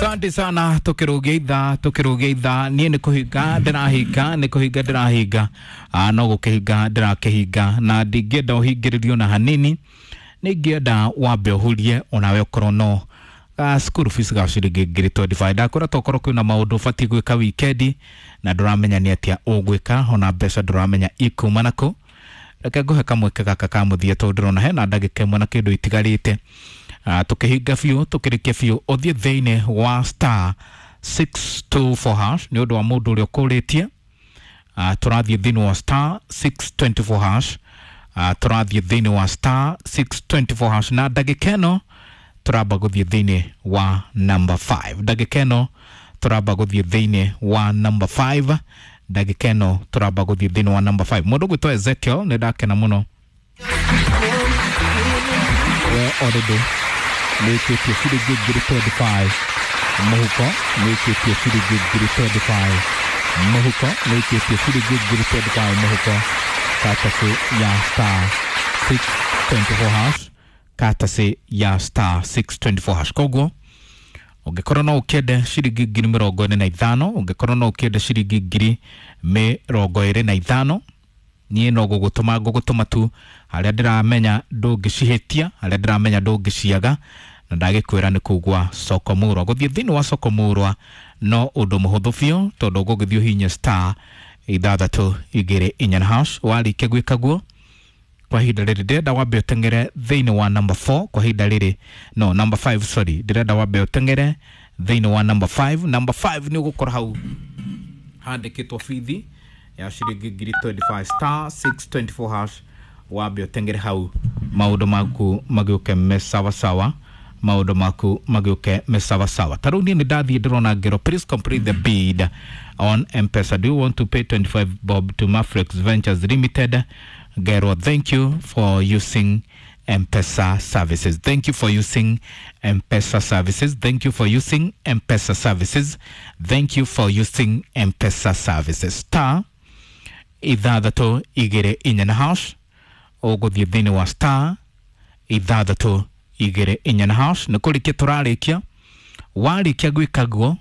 Asante sana tukirugia ithaa tukirugia ithaa niĩ nĩ kũhinga ndĩrahinga nĩ kũhinga ndĩrahinga no gũkĩhinga ndĩrakĩhinga na ndingĩenda ũhingĩrĩrio na hanini nĩ ingĩenda wambe ũhurie onawe ũkorwo no school fees ga ciringi ngiri 25 ndakwĩra tokorwo kwĩna maũndũ ũbatiĩ gwĩka wikendi na ndũramenya nĩ atĩa ũgwĩka ona mbeca ndũramenya ikuma nakũ. Reke ngũhe kamweke gaka ka mũthia tondũ ndĩrona hena ndagĩka ĩmwe na kĩndũ itigarĩte. Tukihinga biũ tukĩrĩkia biũ ũthiĩ thĩinĩ wa star 624 hash nĩ ũndũ wa mũndũ ũrĩa ũkũrĩtie. Tũrathiĩ thĩinĩ wa star 624 hash, tũrathiĩ thĩinĩ wa star 624 hash na ndagĩka ĩno tũramba gũthiĩ thĩinĩ wa number 5. Ndagĩka ĩno tũramba gũthiĩ thĩinĩ wa number 5. Ndagĩka ĩno tũramba gũthiĩ thĩinĩ wa number 5. Mũndũ ũgwĩtwo Ezekiel nĩ ndakena mũno we already nĩĩkĩtie ciringi ngiri 25 mũhuko, nĩĩkĩtie ciringi ngiri 25 mũhuko, nĩĩkĩtie ciringi ngiri 25 mũhuko, katasi ya star 624 hash, katasi ya star 624 hash. Koguo ũngĩkorwo no ũkĩende ciringi ngiri 45, ũngĩkorwo no ũkĩende ciringi ngiri 25, niĩ no gũgũtũma ngũgũtũma tu harĩa ndĩramenya ndũngĩcihĩtia, harĩa ndĩramenya ndũngĩciaga, na ndagĩkwĩra nĩ kũu gwa Soko Mũrwa. Gũthiĩ thĩinĩ wa Soko Mũrwa no ũndũ mũhũthũ biũ tondũ ũgũgĩthiĩ ũhihinye star 624 hash. Warĩkia gwĩka guo kwa ihinda rĩrĩ ndĩrenda wambe ũteng'ere thĩinĩ wa number 4 kwa ihinda rĩrĩ, no number 5 sorry, ndĩrenda wambe ũteng'ere thĩinĩ wa number 5. Number 5 nĩ ũgũkora hau handĩkĩtwo bithi ya ciringi ngiri 25 star 624 hash. Wambe ũteng'ere hau maũndũ maku magĩũke me sawasawa, maũndũ maku magĩũke me sawasawa. Ta rĩu niĩ nĩ ndathiĩ ndĩrona ngero, please complete the bid on M-Pesa. Do you want to pay 25 bob to Mafrex Ventures Limited? Ngero, thank you for using M-Pesa services. Thank you for using M-Pesa services. Thank you for using M-Pesa services. Thank you for using M-Pesa services. Star 624 hash, ũgũthiĩ thĩinĩ wa star 624 hash. Nĩ kũrĩkia tũrarĩkia. Warĩkia gwĩka guo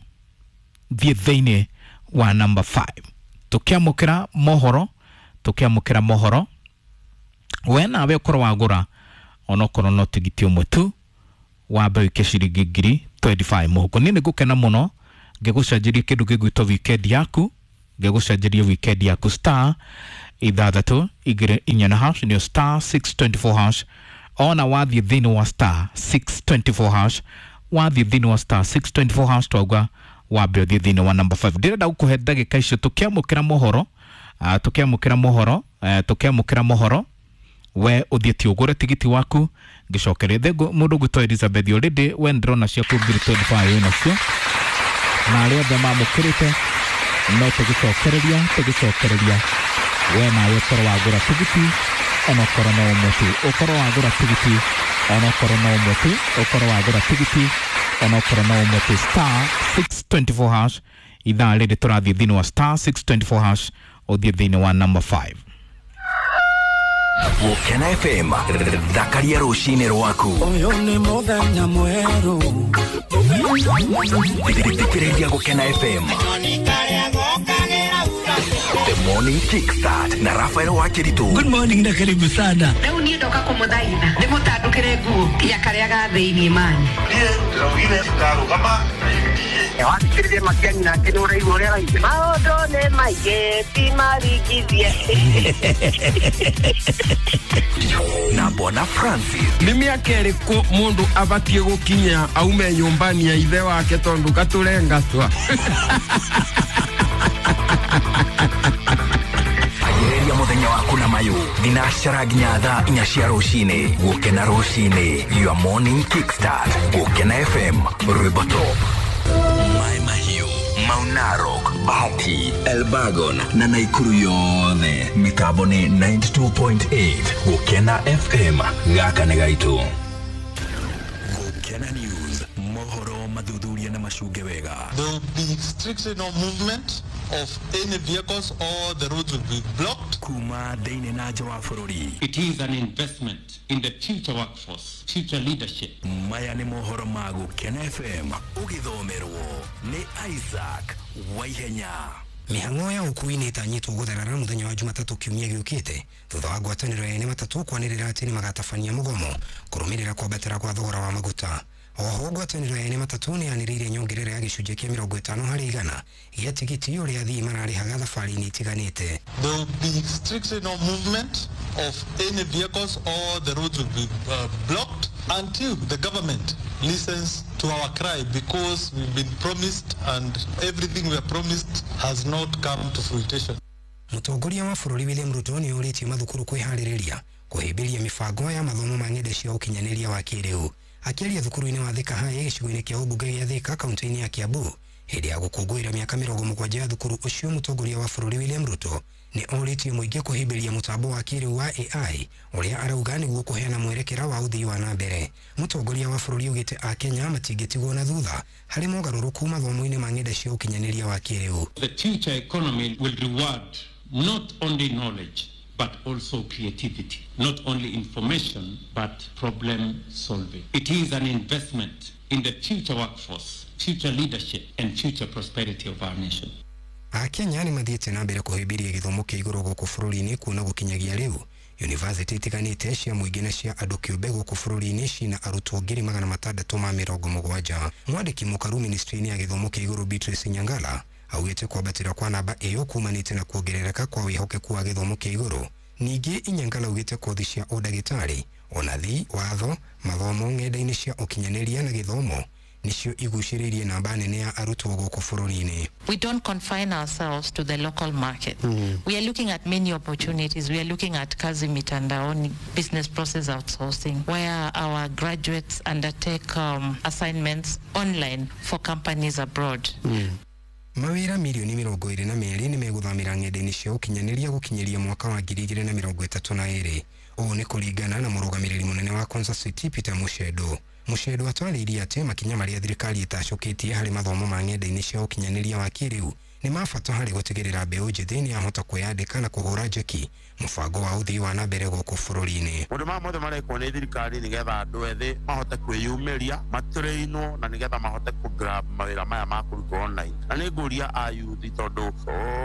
thiĩ thĩinĩ wa number 5. Tũkĩamũkĩra mohoro, tũkĩamũkĩra mohoro we nawe ũkorwo wagũra onokorwo no tigiti ũmwe tu wambe ũike ciringi ngiri 25 mũhuko. Niĩ nĩ ngũkena mũno ngĩgũcenjeria kĩndũ gĩgwĩtwo weekend yaku, ngĩgũcenjeria weekend yaku. Star 624 hash nĩyo star 624 hash. Ona wathiĩ thĩinĩ wa star 624 hash, wathiĩ thĩinĩ wa star 624 hash twauga wambe ũthiĩ thĩinĩ wa number 5. Ndĩrenda gũkũhe ndagĩka icio tũkĩamũkĩra mohoro, tũkĩamũkĩra mohoro, tũkĩamũkĩra mohoro we ũthiĩtie ũgũre tigiti waku ngĩcokeria mũndũ ũgwĩtwo Elizabeth already we ndĩrona ciaku ngiri 25 wĩnacio na arĩa othe mamũkĩrĩte no tũgĩcokereria tũgĩcokereria we nawe ũkorwo wagũra tigiti onokorwo no ũmwe tu, ũkorwo wagũra tigiti onokorwo no ũmwe tu, ũkorwo wagũra tigiti onokorwo no ũmwe tu. Star 624 hash ithaa rĩrĩ tũrathiĩ thĩinĩ wa star 624 hash ũthiĩ thĩinĩ wa number 5. Gũkena FM thakaria rũcinĩ rwaku. Ũyũ nĩ mũthenya mwerũ. Thikĩrĩria Gũkena FM The Morning Kickstart na Rafael Wakiritu. Good morning na karibu sana. Rĩu niĩ ndoka kũmũthaitha ndĩmũtandũkĩre nguo ya karĩa ga thĩinĩ mani. Niĩ ndĩraugire ndarũgama na UDA. Wathikĩrĩria Matiang'i nake nĩ ũraigua ũrĩa araigua. Maũndũ nĩ maingĩ ti maringithie. Na Bwana Francis. Nĩ mĩaka ĩrĩkũ mũndũ abatiĩ gũkinya aume nyũmbani ya ithe wake tondũ gatũrengatwa? Anjĩrĩria mũthenya waku na mayũ thinacara nginya thaa 4 cia rũcinĩ. Gũkena rũcinĩ, your morning kickstart. Gũkena FM, rwĩmbo top. Mai Mahiũ, Mau Narok, Bahati, Elbagon na Naikuru yothe. Mĩtambo nĩ 92.8 Gũkena FM. Gaka nĩ gaitũ. Gũkena News, mohoro. Mathuthuria na macunge wega. There will be strictly no movement of any vehicles or the roads will be blocked. Kuma thĩinĩ na nja wa bũrũri. It is an investment in the future workforce, future leadership. Maya nĩ mohoro ma Gũkena FM ũgĩthomerwo nĩ Isaac Waihenya. Mĩhang'o ya ũkui nĩ ĩtanyĩtwo gũtherera mũthenya wa Jumatatũ kiumia gĩũkĩte thutha wa ngwatanĩro ya ene matatũ kwanĩrĩra atĩ nĩ magatabania mũgomo kũrũmĩrĩra kwambatĩra kwa thogora wa maguta. Oho ngwatanĩro ya ene matatũ nĩ yanĩrĩire nyongerera ya gĩcunjĩ kĩa 50% gĩa tigiti ũrĩa athii mararĩhaga thabarĩ-inĩ itiganĩte. There will be strictly no movement of any vehicles or the roads will be blocked until the government listens to our cry, because we've been promised and everything we are promised has not come to fruition. Mũtongoria wa bũrũri William Ruto nĩ orĩtie mathukuru kwĩharĩrĩria kũhĩmbĩria mĩbango ya mathomo ma ng'enda cia ũkinyanĩria wa kĩrĩu. Akĩaria thukuru-inĩ wa Thika High gĩcigo-inĩ kĩa ũmbunge gĩa Thika kaunti-inĩ ya Kiambu hĩndĩ ya gũkũngũĩra mĩaka 70 ya thukuru ũcio, mũtongoria wa bũrũri William Ruto nĩ orĩtie mũingĩ kũhĩmbĩria mũtambo wa kĩrĩu wa AI ũrĩa arauga nĩguo kũheana mwerekera wa ũthii wa na mbere. Mũtongoria wa bũrũri augĩte Akenya matingĩtigwo na thutha harĩ mogarũrũku mathomo-inĩ ma ng'enda cia ũkinyanĩria wa kĩrĩu. The future economy will reward not only knowledge but also creativity, not only information but problem solving. It is an investment in the future workforce, future leadership and future prosperity of our nation. Akenya nĩ mathiĩte na mbere kũhĩmbĩria gĩthomo kĩa igũrũ gũkũ bũrũri-inĩ kuona gũkinyagia rĩu yunivasĩtĩ itiganĩte cia mũingĩ na cia andũ kĩũmbe gũkũ bũrũri-inĩ cina arutwo 670,000. Mwandĩki mũkaru ministry-inĩ ya gĩthomo kĩa igũrũ Beatrice Nyangala augĩte kwambatĩra kwa namba ĩyo kumanĩte na kuongerereka kwa wĩhokeku wa gĩthomo kĩa igũrũ. Ningĩ Inyangala augĩte kothi cia ũndagĩtarĩ, onathi, watho, mathomo ng'enda-inĩ cia ũkinyanĩria na gĩthomo nĩcio igucĩrĩirie namba nene ya arutwo gũkũ bũrũri-inĩ. We don't confine ourselves to the local market. We are looking at many opportunities. We are looking at kazi mitandaoni, business process outsourcing, where our graduates undertake assignments online for companies abroad. Mawĩra mirioni 22 nĩ megũthamĩra ng'enda-inĩ cia ũkinyanĩria gũkinyĩria mwaka wa 2032. Ũũ nĩ kũringana na mũrũgamĩrĩri mũnene wa Konza City Peter Mushendo. Mushendo atwarĩirie atĩ makinya marĩa thirikari ĩtacũkĩtie harĩ mathomo ma ng'enda-inĩ cia ũkinyanĩria wa kĩrĩu nĩ ma bata harĩ gũtigĩrĩra mbeũ njĩthĩ nĩ yahota kwĩyandĩka na kũhũra njeki mũbango wa ũthii wa na mbere gũkũ bũrũri-inĩ. Maũndũ maya mothe marekwo nĩ thirikari nĩgetha andũ ethĩ mahote kwĩyumĩria, matũrĩinwo na nĩgetha mahote kũ grab mawĩra maya ma kũrutwo online. Na nĩ ngũria a youth tondũ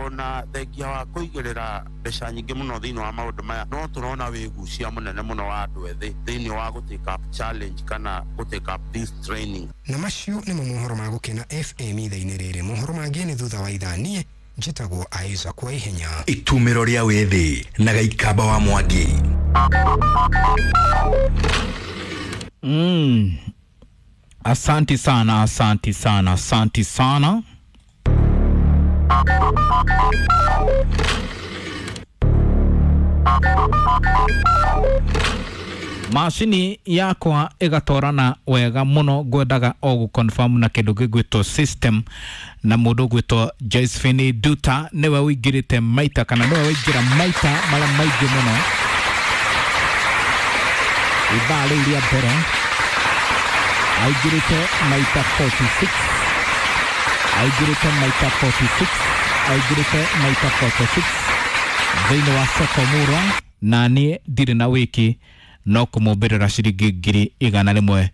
ona thengia wa kũigĩrĩra mbeca nyingĩ mũno thĩinĩ wa maũndũ maya no tũrona wĩgucia mũnene mũno wa andũ ethĩ thĩinĩ wa gũ take up challenge kana gũ take up this training. Na macio nĩmo mohoro ma Gũkena FM ithaa-inĩ rĩrĩ. Mohoro mangĩ nĩ thutha wa ithaa. Niĩ njĩtagwo Isaac Waihenya. Itumĩro rĩa wĩthĩ na Gaikamba wa Mwangi. Asanti sana, asanti sana, asanti sana. Macini yakwa ĩgatwarana wega mũno, ngwendaga o gũ-confirm na kĩndũ gĩgwĩtwo system, na mũndũ ũgwĩtwo Josephine Duta nĩwe ũingĩrĩte maita kana nĩwe waingĩra maita marĩa maingĩ mũno ithaa rĩu rĩa mbere aingĩrĩte maita 46, aingĩrĩte maita 46, aingĩrĩte maita 46 thĩinĩ wa soko Murwa, na niĩ ndirĩ na wĩki no kũmũmbĩrĩra ciringi 175,000.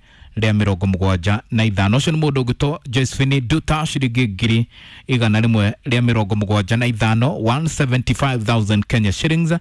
Ũcio nĩ mũndũ ũgwĩtwo Josephine Duta, ciringi 175,000, 175,000 Kenya shillings.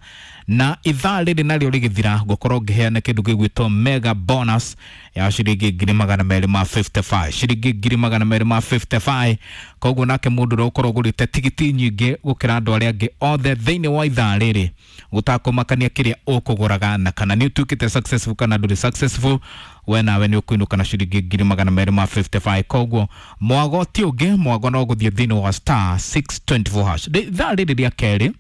Na ithaa rĩrĩ narĩo rĩgĩthira ngũkorwo ngĩheana kĩndũ gĩgwĩtwo mega bonus ya ciringi 255,000, ciringi 255,000. Koguo nake mũndũ ũrĩa ũkorwo ũgũrĩte tigiti nyingĩ gũkĩra andũ arĩa angĩ othe thĩinĩ wa ithaa rĩrĩ, gũtakũmakania kĩrĩa ũkũgũraga na kana nĩ ũtuĩkĩte successful kana ndũrĩ successful, we nawe nĩ ũkũinũka na ciringi 255,000. Koguo mwago ti ũngĩ, mwago no gũthiĩ thĩinĩ wa star 624 hash. Ithaa rĩrĩ rĩa kerĩ,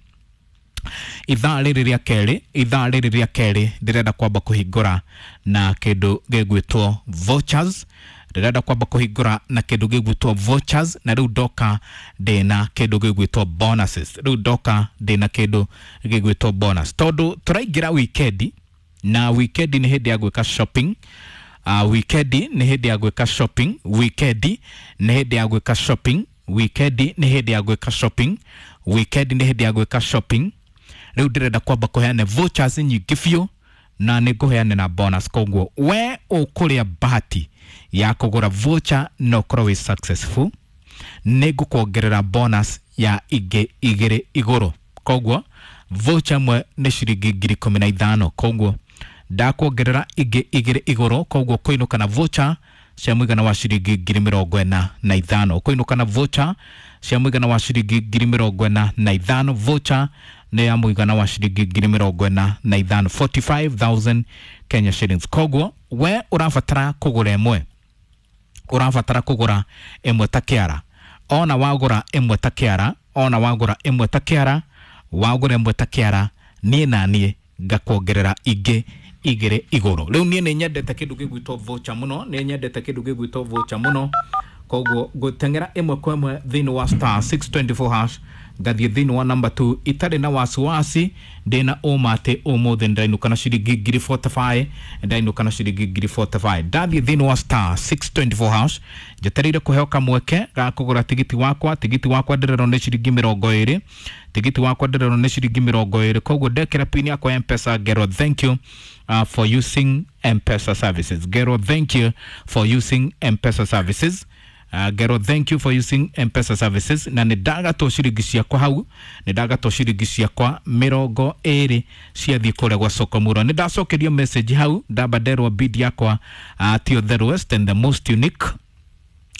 ithaa rĩrĩ rĩa kerĩ, ithaa rĩrĩ rĩa kerĩ ndĩrenda kwamba kũhingũra na kĩndũ gĩgwĩtwo vouchers. Ndĩrenda kwamba kũhingũra na kĩndũ gĩgwĩtwo vouchers, na rĩu ndoka ndĩna kĩndũ gĩgwĩtwo bonuses. Rĩu ndoka ndĩna kĩndũ gĩgwĩtwo bonus tondũ tũraingĩra wikendi, na wikendi nĩ hĩndĩ ya gwĩka shopping. Wikendi nĩ hĩndĩ ya gwĩka shopping, wikendi nĩ hĩndĩ ya gwĩka shopping, wikendi nĩ hĩndĩ ya gwĩka shopping, wikendi nĩ hĩndĩ ya gwĩka shopping. Rĩu ndĩrenda kwamba kũheane vouchers nyingĩ biũ na nĩ ngũheane na bonus, koguo we ũkũrĩa bahati ya kũgũra voucher na ũkorwo wĩ successful, nĩ ngũkuongerera bonus ya ingĩ igĩrĩ igũrũ. Koguo voucher ĩmwe nĩ ciringi 15,000, koguo ndakuongerera ingĩ igĩrĩ igũrũ, koguo kũinũka na voucher cia mũigana wa ciringi 45,000, kũinũka na voucher cia mũigana wa ciringi 45,000. Voucher nĩ ya mũigana wa ciringi 45,000, 45,000 Kenya shillings. Koguo we ũrabatara kũgũra ĩmwe, ũrabatara kũgũra ĩmwe ta kĩara, ona wagũra ĩmwe ta kĩara, ona wagũra ĩmwe ta kĩara, wagũra ĩmwe ta kĩara, niĩ na niĩ ngakuongerera ingĩ igĩrĩ igũrũ. Rĩu niĩ nĩ nyendete kĩndũ gĩgwĩtwo voucher mũno, nĩ nyendete kĩndũ gĩgwĩtwo voucher mũno, koguo ngũteng'era ĩmwe kwa ĩmwe thĩinĩ wa star 624 hash, ngathiĩ thĩinĩ wa number 2 itarĩ na wasiwasi, ndĩna ũma atĩ ũmũthĩ ndĩrainũka na ciringi 45,000, ndĩrainũka na ciringi 45,000. Ndathiĩ thĩinĩ wa star 624 hash, njetereire kũheo kamweke ga kũgũra tigiti wakwa. Tigiti wakwa ndĩrerwo nĩ ciringi 20, tigiti wakwa ndĩrerwo nĩ ciringi 20, koguo ndekĩra pin yakwa ya M-Pesa, ngerwo thank you for using M-Pesa services, ngerwo thank you for using M-Pesa services, ngero thank you for using M-Pesa services. Na nĩ ndagatwo ciringi ciakwa hau, nĩ ndagatwo ciringi ciakwa 20 ciathiĩ kũrĩa gwa soko murwa. Nĩ ndacokerio message hau, ndamba nderwo bid yakwa tio the lowest and the most unique,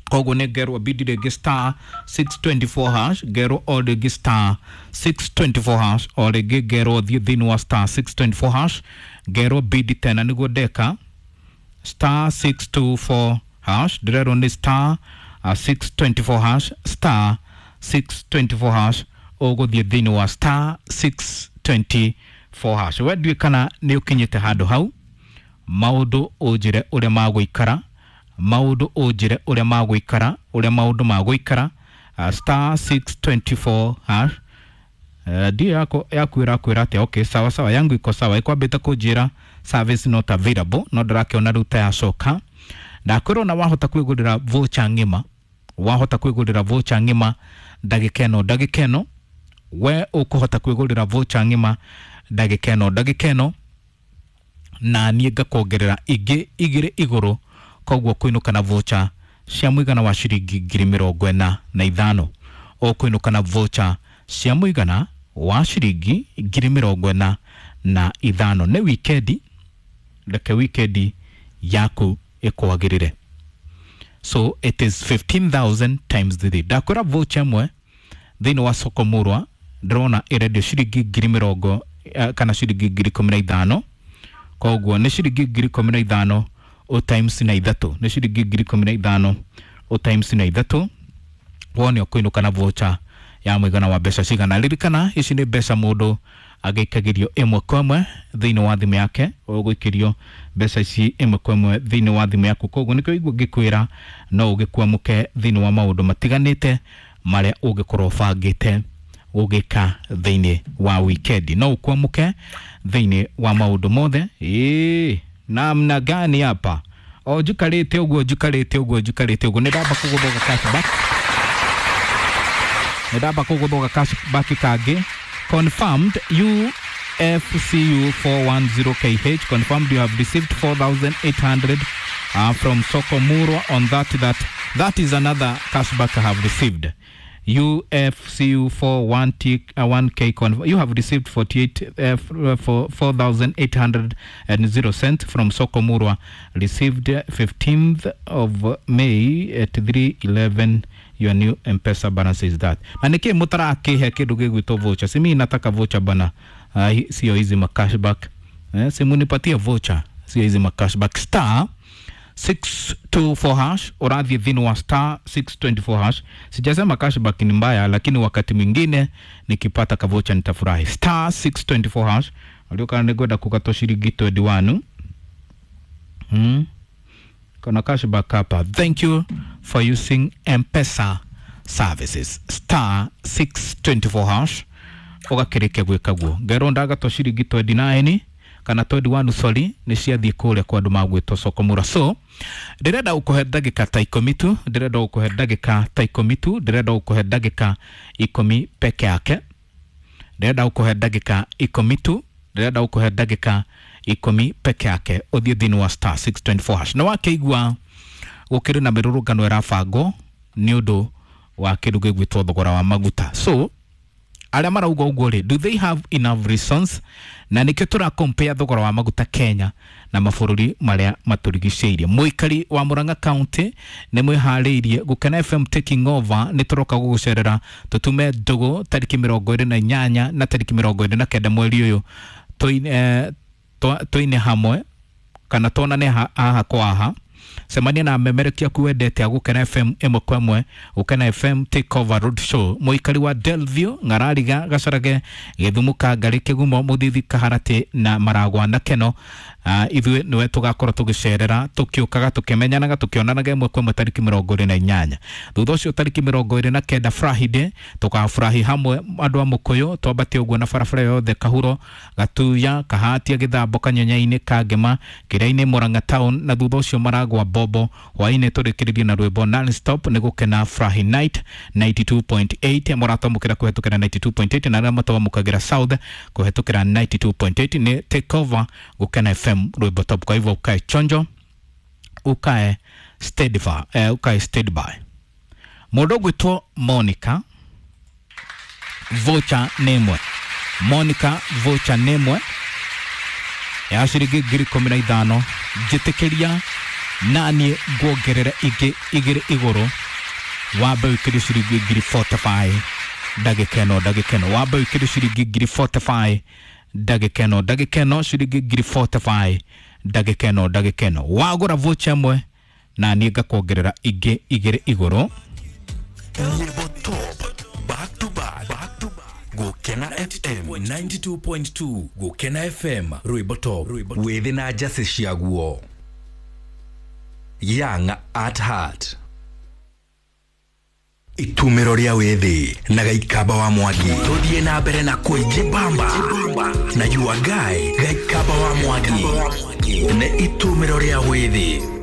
koguo nĩ ngerwo bid rĩngĩ star 624 hash, ngerwo o rĩngĩ star 624 hash, o rĩngĩ ngerwo thiĩ thĩinĩ wa star 624 hash, ngerwo bid tena nĩguo ndeka star 624 hash, ndĩrerwo nĩ star 624 hash, star 624 hash, ũgũthiĩ thĩinĩ wa star 624 hash. We ndiũĩ kana nĩ ũkinyĩte handũ hau, maũndũ ũnjĩre ũrĩa magũikara, maũndũ ũnjĩre ũrĩa magũikara, ũrĩa maũndũ magũikara. Star 624 hash. Ndio yako yaku ĩrakwĩra atĩa? Okay, sawa sawa, yangu iko sawa, ĩkwambĩte kũnjĩra service not available, no ndĩrakĩona rĩu ta yacoka. Ndakwĩrwo na wahota kwĩgũrĩra voucher ng'ima, wahota kwĩgũrĩra voucher ng'ima ndagĩka ĩno, ndagĩka ĩno we ũkũhota kwĩgũrĩra voucher ng'ima ndagĩka ĩno, ndagĩka ĩno, na niĩ ngakuongerera ingĩ igĩrĩ igũrũ, koguo kũinũka na voucher cia mũigana wa ciringi 45,000, ũkũinũka na voucher cia mũigana wa ciringi 45,000. Nĩ wikendi, reke wikendi yaku ĩkwagĩrĩre. So it is 15,000 times 3. Ndakwĩra voucher ĩmwe thĩinĩ wa soko murwa ndĩrona ĩrendio ciringi 20,000 kana ciringi 15,000, koguo nĩ ciringi 15,000 o times na ithatũ, nĩ ciringi 15,000 o times na ithatũ, wone ũkũinũka na voucher ya mũigana wa mbeca cigana. Ririkana ici nĩ mbeca mũndũ agĩikagĩrio ĩmwe kwa ĩmwe thĩinĩ wa thimũ yake, ũgũikĩrio mbeca ici ĩmwe kwa ĩmwe thĩinĩ wa thimũ yaku, koguo nĩkĩo igua ngĩkwĩra no ũgĩkwamũke thĩinĩ wa maũndũ matiganĩte marĩa ũngĩkorwo ũbangĩte ũgĩka thĩinĩ wa wikendi, no ũkwamũke thĩinĩ wa maũndũ mothe. Ĩĩ, namna gani hapa? O njikarĩte ũguo, njikarĩte ũguo, njikarĩte ũguo, nĩ ndamba kũgũthũka cashback, nĩ ndamba kũgũthũka cashback kangĩ. Confirmed UFCU 410KH confirmed you have received 4,800 from Soko Murwa on that is another cashback I have received. UFCU 41K you have received 48,800 cents from Soko Murwa, received 15th of May at 3:11. Your new M-Pesa balance is that. Na niki mutarakihe kindu gigwitwo voucher. Si mimi nataka voucher bana. Sio hizi ma cashback. Si munipatie voucher, sio hizi ma cashback. Star 624 hash, urathi thini wa star 624 hash. Sijasema cashback ni mbaya, lakini wakati mwingine nikipata kavocha nitafurahi. Star 624 hash. Walioka nigwenda kukatwo shilingi 21. Kuna cashback hapa. Thank you for using M-Pesa services. Star 624 hash. Ugakirike gwika guo. Ngero ndagatwo shilingi 29. kana 21 sorry nĩ ciathiĩ kũrĩa kwa andũ magwĩtwo Sokomura. So ndĩrenda gũkũhe ndagĩka ta 10 tu, ndĩrenda gũkũhe ndagĩka ta 10 tu, ndĩrenda gũkũhe ndagĩka 10 peke yake, ndĩrenda gũkũhe ndagĩka 10 tu, ndĩrenda gũkũhe ndagĩka 10 peke yake ũthiĩ thĩinĩ wa star 624 hash. Na wakĩigua gũkĩrĩ na mĩrũrũngano ĩrabangwo nĩ ũndũ wa kĩndũ gĩgwĩtwo thogora wa maguta. So arĩa marauga ũguo rĩ, do they have enough reasons? Na nĩkĩo tũra compare thogora wa maguta Kenya na mabũrũri marĩa matũrigicĩirie. Mũikari wa Murang'a County nĩ mwĩharĩirie Gũkena FM taking over, nĩ tũroka gũgũcerera tũtume ndũgũ tarĩki 28 na tarĩki 29 mweri ũyũ, tũine hamwe kana tuonane haha kwa haha. Cemania na memerekia aku wendete a Gũkena FM ĩmwe kwa ĩmwe. Gũkena FM take over road show. Mũikari wa Delview, Ng'arariga, Gacarage, Gĩthumo, Kangarĩ, Kĩgumo, Mũthithi, Kaharatĩ na Maragwa na Keno, ithuĩ nĩwe tũgakorwo tũgĩcerera tũkĩũkaga tũkĩmenyanaga tũkĩonanaga ĩmwe kwa ĩmwe tarĩki 28. Thutha ũcio tarĩki 29 Friday tũkafurahi hamwe andũ a Mũkũyũ, twambate ũguo na barabara yothe Kahuro, Gatuya, Kahatia, Gĩthambo, Kanyonyainĩ, Kangema, Kĩrĩa-inĩ, Murang'a town, na thutha ũcio Maragwa Bobo. Hwainĩ tũrĩkĩrĩrie na rwĩmbo non-stop nĩ Gũkena Furahi Night 92.8. Mũratwamũkĩra kũhetũkĩra 92.8 na arĩa matwamũkagĩra South kũhetũkĩra 92.8 nĩ take over Gũkena FM rwĩmbo top. Kwa hivyo ukae chonjo, ukae steady, ukae steady by. Mũndũ ũgwĩtwo Monica voucher nĩ ĩmwe, Monica voucher nĩ ĩmwe ya ciringi 15,000. Njĩtĩkĩria naniĩ nguongerere ingĩ igĩrĩ igũrũ, wambe wĩkĩre ciringi 45,000 ndagĩka ĩno, ndagĩka ĩno wambe wĩkĩre ciringi 45,000 ndagĩka ĩno, ndagĩka ĩno ciringi 45,000 ndagĩka ĩno, ndagĩka ĩno wagũra voucher ĩmwe na niĩ ngakuongerera ingĩ igĩrĩ igũrũ. Nyĩmbo top back to back, back to back. Gũkena FM 92.2, Gũkena FM rwĩmbo top, wĩthĩ na njacĩ ciaguo. Young at heart. Itumĩro rĩa wĩthĩ na Gaikamba wa Mwangi. Tũthiĩ na mbere na kwĩjibamba na your guy Gaikamba wa Mwangi. Nĩ itumĩro rĩa wĩthĩ.